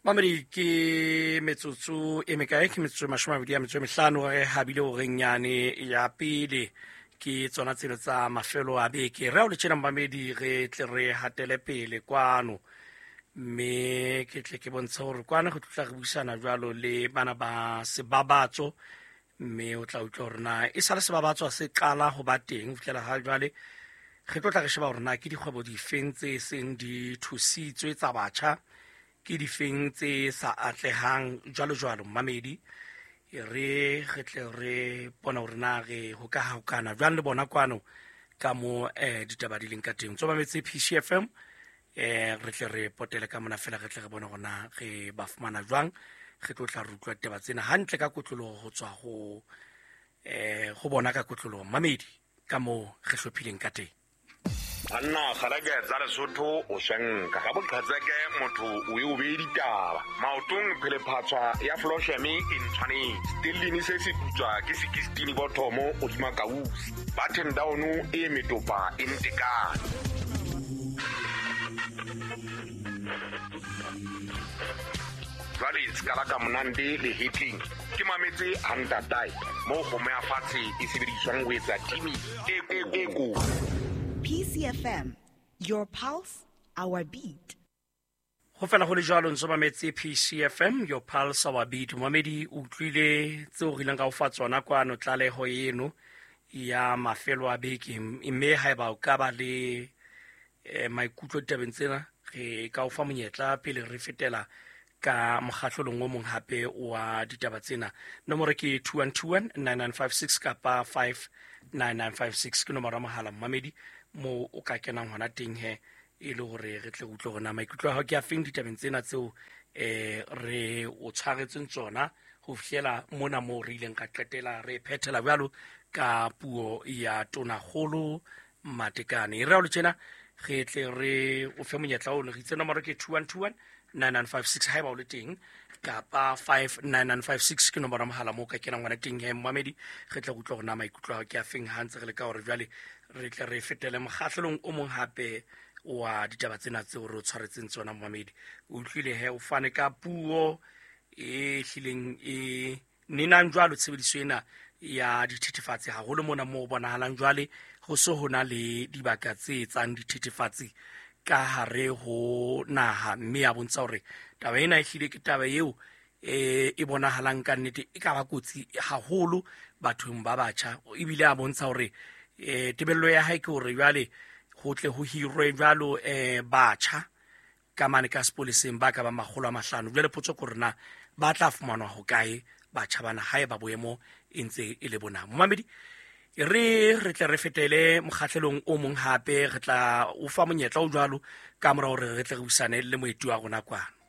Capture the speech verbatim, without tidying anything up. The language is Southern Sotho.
Mamedi ke metsotso e mekae? Ke metsotso e mashome a mabedi a metso e mehlano re habile horeng yane ya pele. Ke tsona tseno tsa mafelo a beke. Re ao le tjena mamedi re tle re hatele pele kwano. Mme ke tle ke bontshe hore kwano re tlotla re buisana jwalo le bana ba Sebabatso. Mme o tla utlwa hore na e sale Sebabatso se qala ho ba teng ho fihlela ha jwale. Re tlo tla re sheba hore na ke dikgwebo difeng tse seng di thusitswe tsa batjha, ke difeng tse sa atlehang jwalo jwalo. Mamedi re re tle re bona hore na re hokahokana jwang le bona kwano ka mo eh ditaba di leng ka teng. Tso mametse P C F M, eh re tle re potele ka mona fela re tle re bone hore na re ba fumana jwang. Re tlo tla re utlwa ditaba tsena hantle ka kotloloho ho tswa ho eh ho bona ka kotloloho mamedi ka moo re hlophileng ka teng. Banna kgaleke tsa Lesotho o shenka ka boqhetseke motho o e o beye ditaba. Maotong phelephatswa ya Flosheme e ntshwanetse. Stellini se se putswa ke sixteen bothomo hodima kausi. Button down e metopa e ntekane. Jwale ska la ka monande le hitling. Ke mametse hantatae mo kgomo ya fatshe e sebediswang ho etsa timi e e ko. P C F M, your pulse, our beat. Ho fela ho le jwalo ntso mametse P C F M, your pulse, our beat. Mamedi o utlwile tseo re ileng ra o fa tsona kwano tlaleho eno ya mafelo a beke. Mme haeba o ka ba le, eh, maikutlo ditabeng tsena, re ka o fa monyetla pele re fetela ka mokgahlelong o mong hape wa ditaba tsena. Nomoro ke two one two one nine nine five six kapa five nine nine five six ke nomoro ya mohala mamedi mo o ka kenang hona teng he e le hore re tle re utlwe hore na maikutlo a hao ke a feng ditabeng tsena tseo, eh, re o tshwaretseng tsona ho fihlela mona moo re ileng ka qetela re phethela jwalo ka puo ya Tonakgolo Matekane. Re ao le tjena re tle re o fe monyetla ono. Re itse nomoro ke two one two one nine nine five six haeba o le teng kapa five nine nine five six ke nomoro ya mohala moo o ka kenang hona teng he mamedi. Re tle re utlwe hore na maikutlo a hao ke a feng ha ntse re leka hore jwale re tle re fetele mokgahlelong o mong hape wa ditaba tsena tseo re o tshwaretseng tsona mamedi. O utlwile he o fane ka puo e hlileng e nenang jwalo tshebediso ena ya dithethefatsi haholo mona moo bonahalang jwale ho so ho na le dibaka tse etsang dithethefatsi ka hare ho naha, mme ya bontsha hore taba ena e hlile ke taba eo e, e bonahalang ka nnete e ka ba kotsi haholo bathong ba batjha. Ebile a bontsha hore, eh, tebello ya hae ke hore jwale ho tle ho hirwe jwalo, eh, batjha ka mane ka sepoleseng ba ka ba makgolo a mahlano. Jwale potso ke hore na ba tla fumanwa hokae batjha bana haeba boemo e ntse e le bona. Momamedi, re re tle re fetele mokgahlelong o mong hape, re tla o fa monyetla o jwalo ka mora hore re tle re buisane le moeti wa rona kwano.